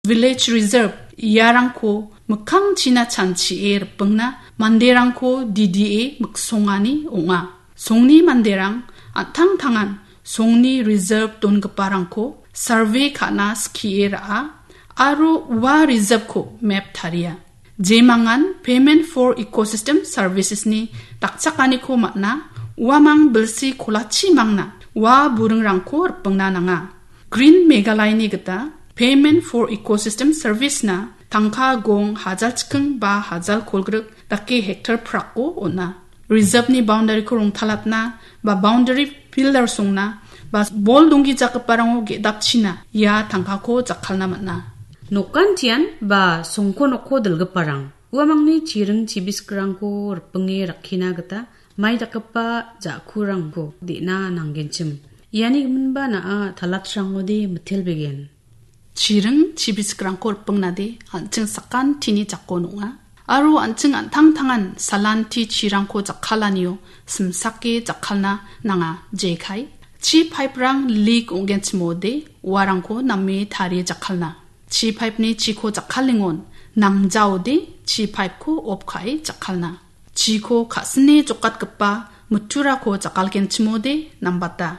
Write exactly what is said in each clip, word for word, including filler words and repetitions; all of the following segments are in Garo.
Village Reserve iarangko mikkangchina chanchie ripingna manderangko D D A miksongani ong·a. Songni manderang an·tangtangan songni reserve dongiparangko survey ka·na skie ra·a aro ua reserve-ko map taria. Jemangan Payment for Ecosystem Services-ni dakchakaniko man·a, uamang bilsi kolachi mangna ua buringrangko ripingna nanga. Green Meghalaya-ni gita Payment for Ecosystem Service-na tangka gong hajal chiking ba hajal kolgrik dake hektar prako on·a. Reserve-ni boundary-ko rongtalatna ba boundary pillar songna ba bol donggijagiparango ge·dapchina ia tangkako jakkalna man·a. Nokantian ba songko nokko dilgiparang uamangni chiring chibiskikrangko ripinge rakkina gita mai dakgipa ja·kurangko de·na nanggenchim. Iani giminba na·a talatrangode mitelbegen. Chiring chibiskikrangko ripingnade an·ching sakantini jako nong·a. Aro an·ching an·tangtangan salanti chirangko jakkalanio simsake jakkalna nanga, jekai. Chi pipe-rang leak ong·genchimode uarangko name tarie jakkalna. Chi pipe-ni chiko jakkalingon nangjaode chi pipe-ko off ka·e jakkalna. Chiko ka·sine jokatgipa mitturako jakkalgenchimode nambata.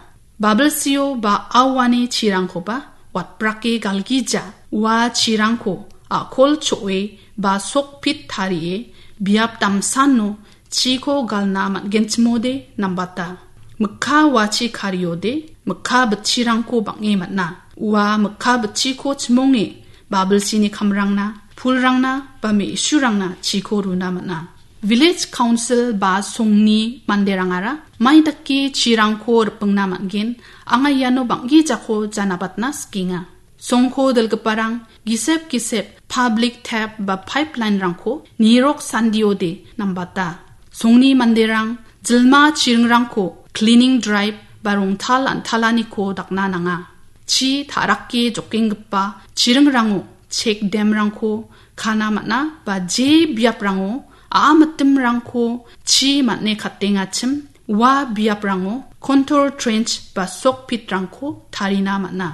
Babilsio ba auani chirangkoba watbrake galgija ua chirangko a·kol cho·e ba sokpit tarie biap damsano chiko galna man·genchimode nambata. Mikka wachi kariode mikka bitchirangko bang·e man·a. Ua mikka bitchiko chimonge babilsini kamrangna, pulrangna ba me·surangna chiko runa man·a. Village Council ba songni manderangara mai dake chirangko ripingna man·gen, anga iano bang·gijako janabatna sikenga. Songko dilgiparang gisep gisep public tap ba pipeline-rangko nirok sandiode nambata. Songni manderang jilma chiringrangko cleaning drive ba rongtal an·talaniko dakna nanga. Chi ta·rake jokenggipa chiringrango check dam-rangko kana man·a ba je biaprango a·mitimrangko chi man·e katengachim ua biaprango contour trench ba sokpitrangko tarina man·a.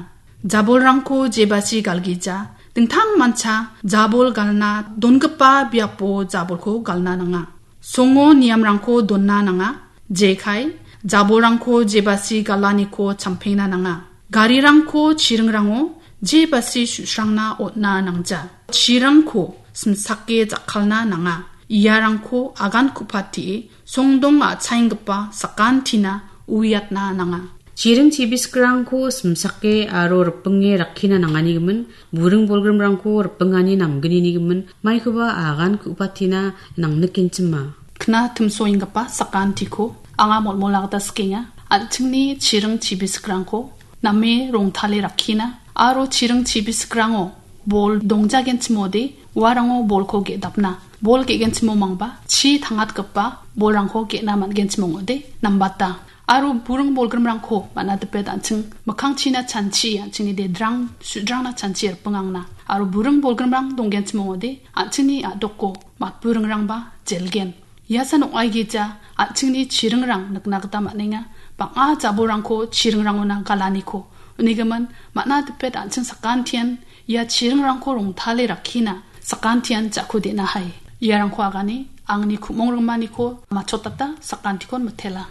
Jabolrangko jebasi galgija, dingtangmancha jabol galna dongipa biapo jabolko galna nanga. Songo niamrangko donna nanga, jekai jabolrangko jebasi galaniko champengna nanga. Garirangko chiringrango jebasi su·srangna on·na nangja. Chirangko simsake jakkalna nanga. Iarangko agan ku·patie songdong a·chaenggipa sakantina uiatna nanga. Chiring chibiskikrangko simsake aro ripinge rakkina nanganigimin, buring bolgrimrangko ripingani namgninigimin, maikoba agan ku·patina nangnikenchima. Kna timsoenggipa sakantiko anga molmola gita sikenga. An·chingni chiring chibisikrangko name rongtale rakkina aro chiring chibisikrango bol dongjagenchimode uarango bolko ge·dapna. Bol ge·genchimo mangba chi tangatgipa bolrangko ge·na man·genchim ong·ode nambata. Aro buring bolgrimrangko man·a dipet an·ching mikkangchina chanchi, an·chingni dedrang sudrangna chanchi ripingangna. Aro buring bolgrimrang donggenchim ong·ode an·chingni a·doko matburingrangba jelgen. Ia san ong·aigija an·chingni chiringrang nikna gita man·enga. Bang·a jabolrangko chiringrangona galaniko. Unigimin man·a dipet an·ching sakantian ia chiringrangko rongtale rakkina sakantian ja·ko de·nahai. Iarangko agane angni ku·mong ringmaniko matchotata sakantikon mitela.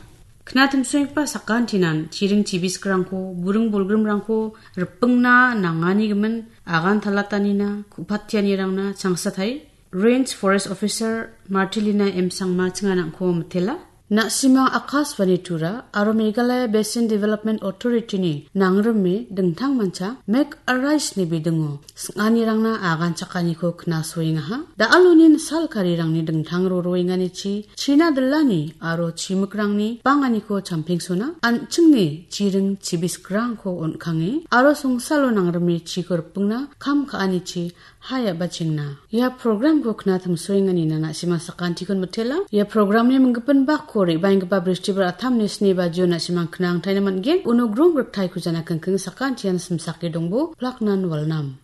Kna timsoenggipa sakantinan chiring chibisikrangko, buring bolgrimrangko ripingna nanganigimin agan talatanina ku·patianirangna changsatai. Range Forest Officer Martilina M Sangma chinganangko mitela. Na·simang Akashvani Tura aro Meghalaya Basin Development Authority-ni nangrime dingtangmancha Make a Rise-ni bidingo sing·anirangna agan chakaniko knasoengaha. Da·aloni salkarirangni dingtang roroenganichi, china dilani aro chimikrangni banganiko champengsona, an·chingni chiring chibisikrangko on·kange aro songsalo nangrime chiko ripingna kam ka·anichi haiaba chengna. Ia programko kna timsoenganina na·simang sakantikon mitela. Ia programni minggipin bakko re·baenggipa Bristibar atamni sni bajio na·simang knangtaina man·gen. Uno grong riktaiko jana kingking sakantian simsake dongbo, plaknan walnam.